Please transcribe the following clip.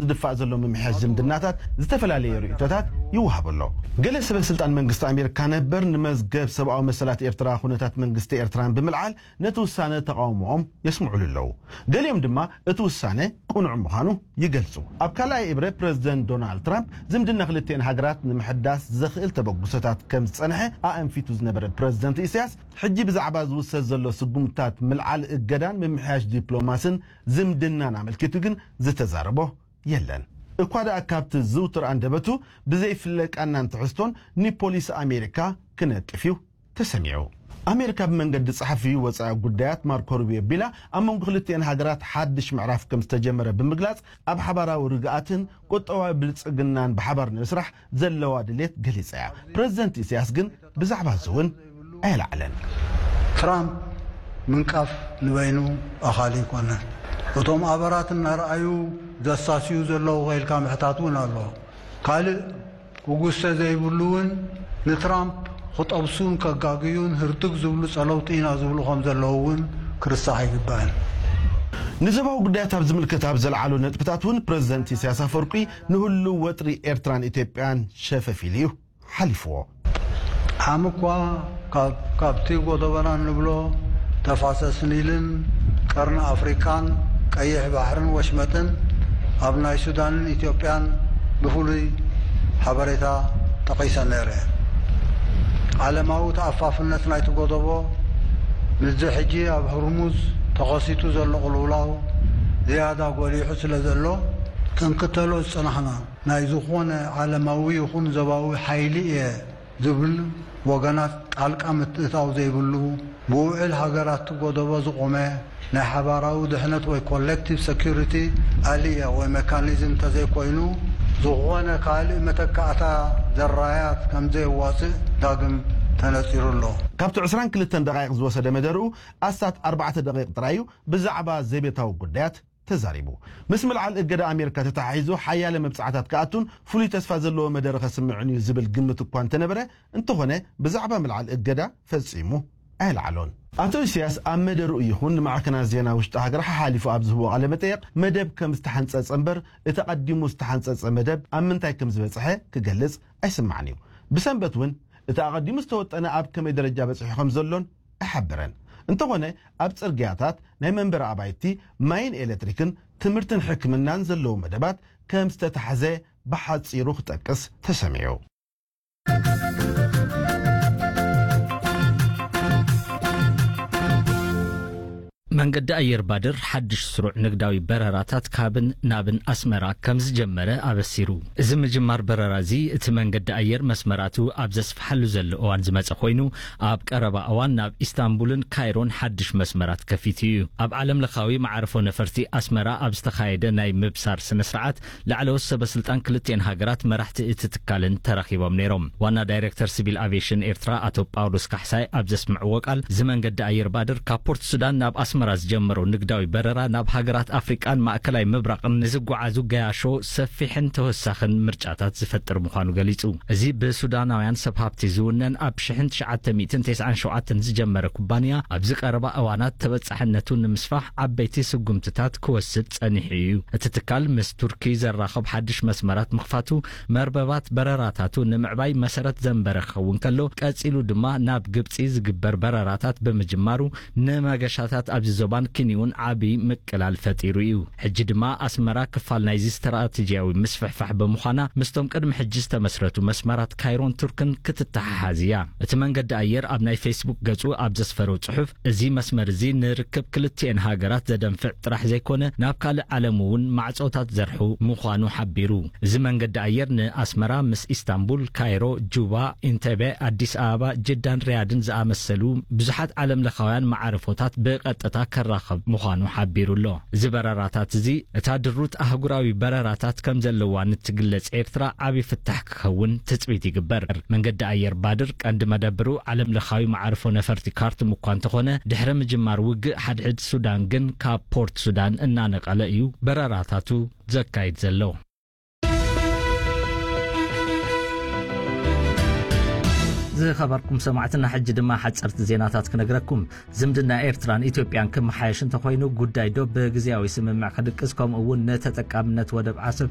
ዝድፋእ ዘሎ ምምሕያሽ ዝምድናታት ዝተፈላለየ ርእይቶታት ይወሃብ ኣሎ። ገለ ሰበ ስልጣን መንግስቲ ኣሜሪካ ነበር ንመዝገብ ሰብኣዊ መሰላት ኤርትራ ኩነታት መንግስቲ ኤርትራን ብምልዓል ነቲ ውሳነ ተቓውሞኦም የስምዑሉ ኣለዉ። ገሊኦም ድማ እቲ ውሳነ ቅኑዕ ምዃኑ ይገልጹ። ኣብ ካልኣይ እብረ ፕረዚደንት ዶናልድ ትራምፕ ዝምድና ክልቲኤን ሃገራት ንምሕዳስ ዘኽእል ተበግሶታት ከም ዝጸንሐ ኣእንፊቱ ዝነበረ ፕረዚደንት ኢሳያስ፣ ሕጂ ብዛዕባ ዝውሰድ ዘሎ ስጉምትታት ምልዓል እገዳን ምምሕያሽ ዲፕሎማስን ዝምድናን ኣመልኪቱ ግን ዝተዛረቦ የለን። እኳ ደኣ ካብቲ ዝውቱር ኣንደበቱ ብዘይፍለቃናን ትሕዝቶን ንፖሊሲ ኣሜሪካ ክነቅፍ እዩ ተሰሚዑ። ኣሜሪካ ብመንገዲ ጸሓፊ ወጻኢ ጉዳያት ማርኮ ሩቢዮ ቢላ ኣብ መንጎ ክልቲኤን ሃገራት ሓድሽ ምዕራፍ ከም ዝተጀመረ ብምግላጽ፣ ኣብ ሓባራዊ ርግኣትን ቁጠባዊ ብልጽግናን ብሓባር ንምስራሕ ዘለዋ ድሌት ገሊጻ እያ። ፕረዚደንት ኢሳያስ ግን ብዛዕባ እዚ እውን ኣየለዓለን። ትራምፕ ምንቃፍ ንበይኑ ኣኻሊ ኣይኮነን። እቶም ኣበራት እናረኣዩ ዘሳስዩ ዘለዉ ከኢልካ ምሕታት እውን ኣሎ። ካልእ ክጉሰ ዘይብሉ እውን ንትራምፕ ክጠብሱን ከጋግዩን ህርትግ ዝብሉ ጸለውቲ ኢና ዝብሉ ከም ዘለዉ እውን ክርስዕ ኣይግባእን። ንዞባዊ ጉዳያት ኣብ ዝምልከት ኣብ ዘልዓሎ ነጥብታት እውን ፕረዚደንት ኢሳያስ ኣፈወርቂ ንህሉው ወጥሪ ኤርትራን ኢትዮጵያን ሸፈፍ ኢሉ እዩ ሓሊፍዎ። ዓም እኳ ካብ ካብቲ ጎደበና እንብሎ ተፋሰስ ኒልን ቀርኒ ኣፍሪቃን ቀይሕ ባሕርን ወሽመጥን ኣብ ናይ ሱዳንን ኢትዮጵያን ብፍሉይ ሓበሬታ ጠቒሰ ነይረ። ዓለማዊ ተኣፋፍነት ናይቲ ጎደቦ ምስዚ ሕጂ ኣብ ህርሙዝ ተኸሲቱ ዘሎ ቅልውላው ዝያዳ ጎሊሑ ስለ ዘሎ ክንክተሎ ዝጸናሕና ናይ ዝኾነ ዓለማዊ ይኹን ዞባዊ ሓይሊ እየ ዝብል ወገናት ጣልቃ ምትእታው ዘይብሉ ብውዕል ሃገራት ጎደቦ ዝቖመ ናይ ሓባራዊ ድሕነት ወይ ኮሌክቲቭ ሰኪሪቲ ኣልያ ወይ ሜካኒዝም እንተዘይኮይኑ ዝኾነ ካልእ መተካእታ ዘራያት ከምዘየዋፅእ ዳግም ተነፂሩ ኣሎ። ካብቲ ዕስራን ክልተን ደቃይቕ ዝወሰደ መደርኡ ኣስታት ኣርባዕተ ደቂቕ ጥራይ እዩ ብዛዕባ ዘቤታዊ ጉዳያት ተዛሪቡ። ምስ ምልዓል እገዳ ኣሜሪካ ተተሓሒዙ ሓያለ መብጻዕታት ክኣቱን ፍሉይ ተስፋ ዘለዎ መደረ ከስምዕን እዩ ዝብል ግምት እኳ እንተነበረ፣ እንተኾነ ብዛዕባ ምልዓል እገዳ ፈጺሙ ኣየልዓሎን። ኣቶ ኢሳያስ ኣብ መደርኡ ይኹን ንማዕከናት ዜና ውሽጢ ሃገር ሓሓሊፉ ኣብ ዝህቦ ቃለ መጠየቕ መደብ ከም ዝተሓንጸጸ እምበር እቲ ኣቐዲሙ ዝተሓንጸጸ መደብ ኣብ ምንታይ ከም ዝበጽሐ ክገልጽ ኣይስማዕን እዩ። ብሰንበት እውን እቲ ኣቐዲሙ ዝተወጠነ ኣብ ከመይ ደረጃ በጺሑ ከም ዘሎን ኣይሓበረን። እንተኾነ ኣብ ጽርግያታት፣ ናይ መንበሪ ኣባይቲ፣ ማይን ኤሌክትሪክን ትምህርትን ሕክምናን ዘለዉ መደባት ከም ዝተታሕዘ ብሓጺሩ ክጠቅስ ተሰሚዑ። መንገዲ ኣየር ባድር ሓድሽ ስሩዕ ንግዳዊ በረራታት ካብን ናብን ኣስመራ ከም ዝጀመረ ኣበሲሩ። እዚ ምጅማር በረራ እዚ እቲ መንገዲ ኣየር መስመራቱ ኣብ ዘስፍሓሉ ዘሎ እዋን ዝመጸ ኮይኑ፣ ኣብ ቀረባ እዋን ናብ ኢስታንቡልን ካይሮን ሓድሽ መስመራት ከፊቱ እዩ። ኣብ ዓለም ለኻዊ መዓርፎ ነፈርቲ ኣስመራ ኣብ ዝተኻየደ ናይ ምብሳር ስነ ስርዓት ላዕለዎት ሰበ ስልጣን ክልቲኤን ሃገራት መራሕቲ እቲ ትካልን ተራኺቦም ነይሮም። ዋና ዳይሬክተር ሲቪል ኣቪዬሽን ኤርትራ ኣቶ ጳውሎስ ካሕሳይ ኣብ ዘስምዕዎ ቃል፣ እዚ መንገዲ ኣየር ባድር ካብ ፖርት ሱዳን ናብ ኣስመራ ዝጀመሮ ንግዳዊ በረራ ናብ ሃገራት ኣፍሪቃን ማእከላይ ምብራቕን ንዝጓዓዙ ገያሾ ሰፊሕን ተወሳኽን ምርጫታት ዝፈጥር ምዃኑ ገሊጹ። እዚ ብሱዳናውያን ሰብ ሃብቲ ዝውነን ኣብ ሽሕን ትሽዓተ ሚእትን ተስዓን ሸውዓተን ዝጀመረ ኩባንያ ኣብዚ ቀረባ እዋናት ተበጻሕነቱ ንምስፋሕ ዓበይቲ ስጉምትታት ክወስድ ጸኒሑ እዩ። እቲ ትካል ምስ ቱርኪ ዘራኽብ ሓድሽ መስመራት ምኽፋቱ መርበባት በረራታቱ ንምዕባይ መሰረት ዘንበረ ክኸውን ከሎ፣ ቀጺሉ ድማ ናብ ግብጺ ዝግበር በረራታት ብምጅማሩ ንመገሻታት ኣብዚ ዞባን ኪንውን ዓቢ ምቅላል ፈጢሩ እዩ። ሕጂ ድማ ኣስመራ ክፋል ናይዚ ስትራተጂያዊ ምስፍሕፋሕ ብምዃና ምስቶም ቅድሚ ሕጂ ዝተመስረቱ መስመራት ካይሮን ቱርክን ክትተሓሓዝ እያ። እቲ መንገዲ ኣየር ኣብ ናይ ፌስቡክ ገጹ ኣብ ዘስፈሮ ጽሑፍ፣ እዚ መስመር እዚ ንርክብ ክልቲኤን ሃገራት ዘደንፍዕ ጥራሕ ዘይኮነ፣ ናብ ካልእ ዓለም እውን ማዕጾታት ዘርሑ ምዃኑ ሓቢሩ። እዚ መንገዲ ኣየር ንኣስመራ ምስ ኢስታንቡል፣ ካይሮ፣ ጁባ፣ ኢንቴቤ፣ ኣዲስ ኣበባ፣ ጅዳን ሪያድን ዝኣመሰሉ ብዙሓት ዓለም ለኻውያን መዓርፎታት ብቐጥታ ከራኽብ ምዃኑ ሓቢሩ ኣሎ። እዚ በረራታት እዚ እታ ድሩት ኣህጉራዊ በረራታት ከም ዘለዋ ንትግለጽ ኤርትራ ዓቢ ፍታሕ ክኸውን ትጽቢት ይግበር። መንገዲ ኣየር ባድር ቀንዲ መደብሩ ዓለም ለኻዊ መዓርፎ ነፈርቲ ካርቱም እኳ እንተኾነ፣ ድሕሪ ምጅማር ውግእ ሓድሕድ ሱዳን ግን ካብ ፖርት ሱዳን እናነቐለ እዩ በረራታቱ ዘካይድ ዘሎ። ዝኸበርኩም ሰማዕትና፣ ሕጂ ድማ ሓጸርቲ ዜናታት ክነግረኩም። ዝምድና ኤርትራን ኢትዮጵያን ክመሓየሽ እንተኾይኑ፣ ጉዳይ ዶብ ብግዝያዊ ስምምዕ ክድቅስ፣ ከምኡ እውን ንተጠቃምነት ወደብ ዓሰብ